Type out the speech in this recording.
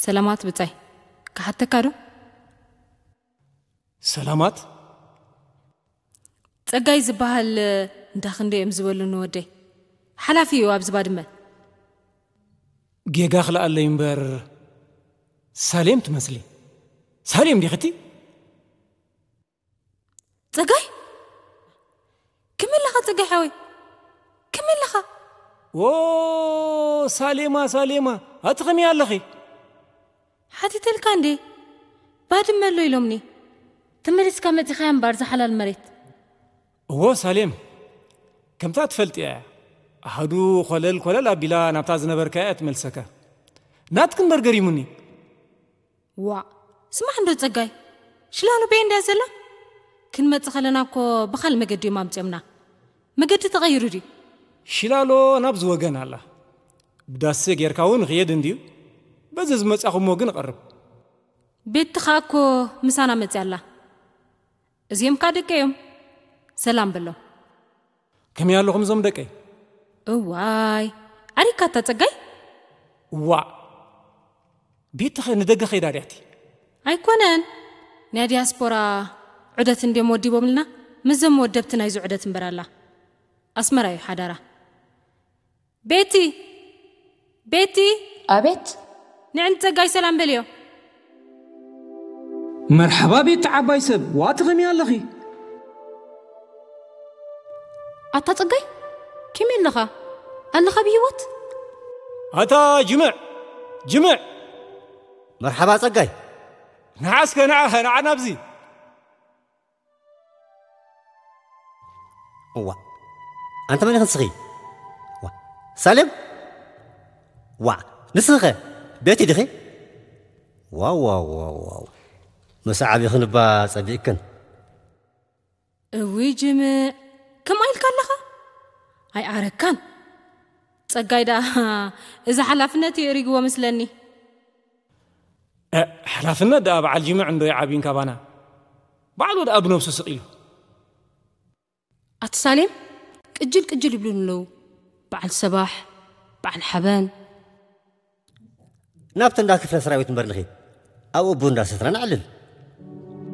ሰላማት ብጻይ፣ ክሓተካ ዶ? ሰላማት? ጸጋይ ዝበሃል እንዳ ክንደይ እዮም ዝበሉኒ ወደይ። ሓላፊ እዩ ኣብዚ ባድመ። ጌጋ ክልኣለይ እምበር፣ ሳሌም ትመስሊ። ሳሌም ዲኽቲ? ጸጋይ? ከመይ ኣለኻ ጸጋይ ሓወይ? ከመይ ኣለኻ? ዎ፣ ሳሌማ፣ ሳሌማ፣ ኣቲ ከመይ ኣለኺ? ሓቲተልካ እንዴ? ባድመ ኣሎ ኢሎምኒ። ተመሊስካ መጺኻያ እምበር፣ ዝሓላል መሬት። እዎ፣ ሳሌም፣ ከምታ ትፈልጥያ እያ። ኣሃዱ ኮለል ኮለል ኣቢላ ናብታ ዝነበርካያ እያ ትመልሰካ። ናትኪ እምበር ገሪሙኒ። ዋእ፣ ስማዕ እንዶ ጸጋይ፣ ሽላሎ በየ እንድያ ዘላ? ክንመጽእ ከለና እኮ ብኻልእ መገዲ እዮም ኣምጺኦምና። መገዲ ተቐይሩ ድዩ? ሽላሎ ናብዚ ወገን ኣላ። ብዳሴ ጌርካ እውን ይኽየድ እንድዩ። በዚ ዝመጻኹሞ ግን እቐርብ። ቤቲ ኸኣ እኮ ምሳና መጽያ ኣላ። እዚኦም ከኣ ደቀይ እዮም። ሰላም በሎም። ከመይ ኣለኹም እዞም ደቀይ? እዋይ፣ ዓሪካታ ጸጋይ? እዋእ፣ ቤቲ ኸ ንደገ ኸይዳ ድያቲ? ኣይኮነን፣ ናይ ዲያስፖራ ዑደት እንድዮም ወዲቦምልና፣ ምስዞም ወደብቲ ናይዚ ዑደት እምበር ኣላ። ኣስመራ እዩ ሓዳራ። ቤቲ! ቤቲ! ኣቤት። ንዕን ጸጋይ ሰላም በልዮ። መርሓባ ቤቲ ዓባይ ሰብ፣ ዋእ ከመይ ኣለኺ? ኣታ ጸጋይ፣ ከመይ ኣለኻ? ኣለኻ ብህይወት? ኣታ ጅምዕ! ጅምዕ! መርሓባ ጸጋይ። ንዓ እስከ ንዓ፣ ንዓ ናብዚ። እዋ፣ ኣንተ መን ኢኺ ንስኺ? ዋ፣ ሳሌም? ዋ፣ ንስኺ ኸ ቤቲ ዲኺ? ዋው፣ ዋው፣ ዋው፣ ዋው። ምስ ዓቢኽን እባ ጸቢቕክን። እውይ ጅምዕ፣ ከምኣ ኢልካ ኣለኻ? ኣይኣረካን። ጸጋይ ደኣ እዚ ሓላፍነት የእሪግዎ መስለኒ። እ፣ ሓላፍነት ደኣ በዓል ጅምዕ እንዶ ይዓብን ካባና። ባዕሉ ደኣ ብነብሱ ስቕ ኢሉ። ኣቲ ሳሌም፣ ቅጅል ቅጅል ይብሉን ኣለዉ። በዓል ሰባሕ፣ በዓል ሓበን። ናብቲ እንዳ ክፍለ ሰራዊት እምበር ንኺድ። ኣብኡ ቡን እንዳሰትና ነዕልል።